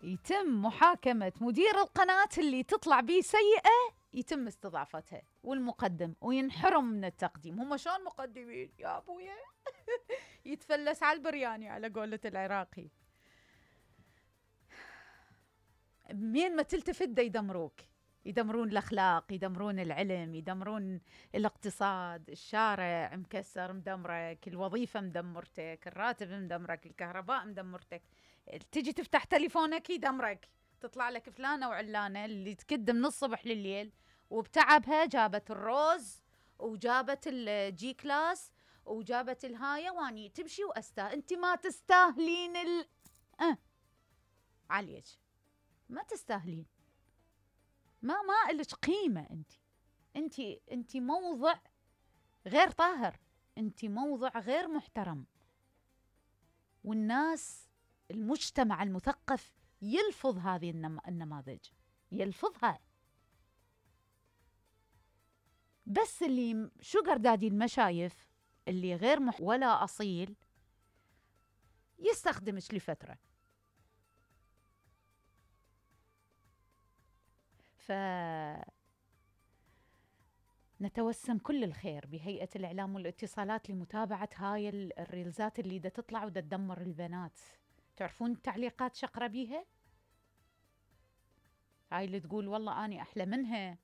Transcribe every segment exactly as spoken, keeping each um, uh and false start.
يتم محاكمة مدير القناة اللي تطلع بيه سيئة، يتم استضافتها، والمقدم وينحرم من التقديم. هم شلون مقدمين يا أبويا؟ يتفلس على البرياني على قولة العراقي. مين ما تلتفت دا يدمروك، يدمرون الأخلاق، يدمرون العلم، يدمرون الاقتصاد، الشارع مكسر مدمرك، الوظيفة مدمرتك، الراتب مدمرك، الكهرباء مدمرتك. تجي تفتح تليفونك يدمرك، تطلع لك فلانة وعلانة اللي تكد من الصبح لليل وبتعبها جابت الروز وجابت الجي كلاس وجابت الهاية واني تمشي وأستاهل. انت ما تستاهلين ال أه. عليك ما تستاهلين، ما ما إلك قيمة. انت انت انت موضع غير طاهر، انت موضع غير محترم، والناس المجتمع المثقف يلفظ هذه النماذج، يلفظها. بس اللي شجر دادي المشايف اللي غير مح ولا أصيل يستخدمش لفترة. فنتوسم كل الخير بهيئة الإعلام والاتصالات لمتابعة هاي الريلزات اللي دا تطلع ودا تدمر البنات. تعرفون التعليقات شقرة بيها؟ هاي اللي تقول والله أني أحلى منها،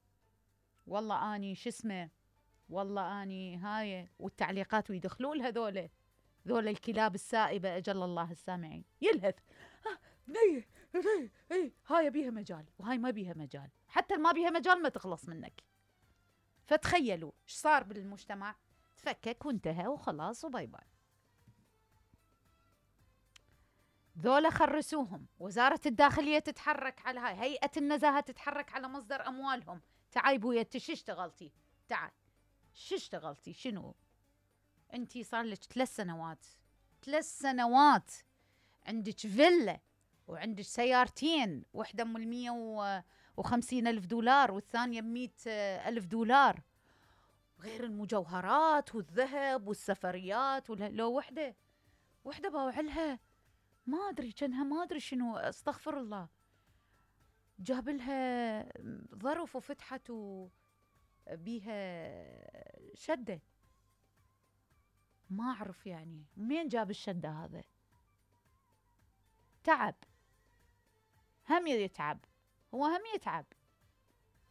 والله أني شسمه، والله أني هاي، والتعليقات ويدخلون هذول ذول الكلاب السائبة أجل الله السامعين. يلهث آه ني ني اي هاي بيها مجال وهاي ما بيها مجال، حتى ما بيها مجال ما تخلص منك. فتخيلوا ايش صار بالمجتمع، تفكك وانتهى وخلاص وباي باي. ذولا خرسوهم، وزارة الداخلية تتحرك على هاي، هيئة النزاهة تتحرك على مصدر أموالهم. تعاي بويا انت شو اشتغلتي؟ تعال شو اشتغلتي؟ شنو انتي؟ صار لك ثلاث سنوات ثلاث سنوات عندك فيلا وعندك سيارتين، واحدة من المية وخمسين ألف دولار والثانية بمئة ألف دولار، غير المجوهرات والذهب والسفريات. لو وحدة وحدة باوعلها ما أدري كانها ما أدري شنو، استغفر الله، جاب لها ظرف وفتحت بيها شدة، ما أعرف يعني مين جاب الشدة هذا. تعب، هم يتعب، هو هم يتعب